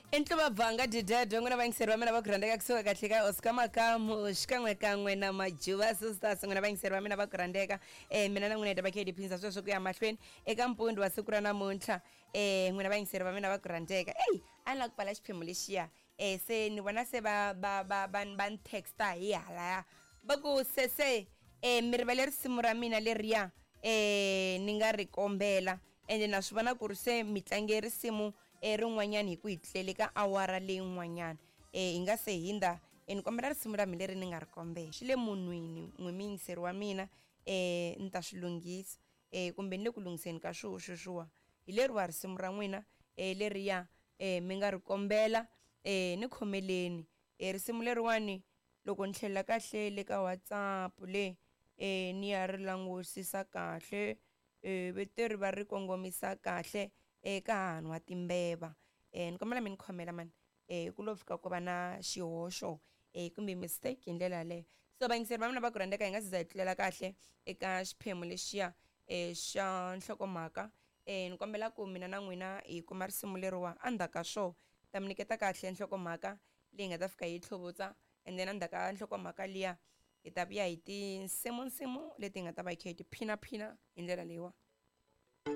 I ntluva bvanga didede n'wina vayingiseri va mina va ku rhandzeka kusuka kahle ka Oscar Makamu xikan'wekan'we na Majuva Sisters. N'wina vayingiseri va mina va ku rhandzeka, mina na n'wina hi ta va kha hi tiphindza sweswo ku ya mahlweni eka mpundu wa siku ra namuntlha. N'wina vayingiseri va mina va ku rhandzeka, eyi a ni lava ku pfala xiphemu lexiya. Se ni vona se va va va va va ni texta hi halaya, va ku sese, mi rivele risimu ra mina leriya ni nga ri kombela, ende na swi vona ku ri se mi tlange risimu rin'wanyana hi ku hi tlele ka awara leyin'wanyana hi nga se hindza. Ni kombela risimu ra mina leri ni nga ri kombela, swi le munhwini n'wi muyingiseri wa mina, ni ta swi lunghisa, kumbe ni le ku lunghiseni ka swoho sweswiwa. Hi leriwa risimu ra n'wina leriya mi nga ri kombela, ni khomeleni risimu leriwani. Loko ni tlhelela kahle le ka WhatsApp le, ni ya ri langusisa kahle, veteri va ri kongomisa kahle eka hahani wa timbeva. Ni kombela mi ni khomela mani, ku lo fika ku va na xihoxo kumbe mistake hi ndlela yaleyo. So vayingiseri va mina va ku rhandzeka, hi nga se za hi tlulela kahle eka xiphemu lexiya xa nhlokomhaka, ni kombela ku mina na n'wina hi kuma risimu leriwa. Endzhaku ka swo ta mi nyiketa kahle nhlokomhaka leyi nga ta fika yi tlhuvutsa, and then endzhaku ka nhlokomhaka liya hi ta vuya hi tinsimunsimu leti hi nga ta va hi kha hi tiphinaphina hi ndlela leyiwa.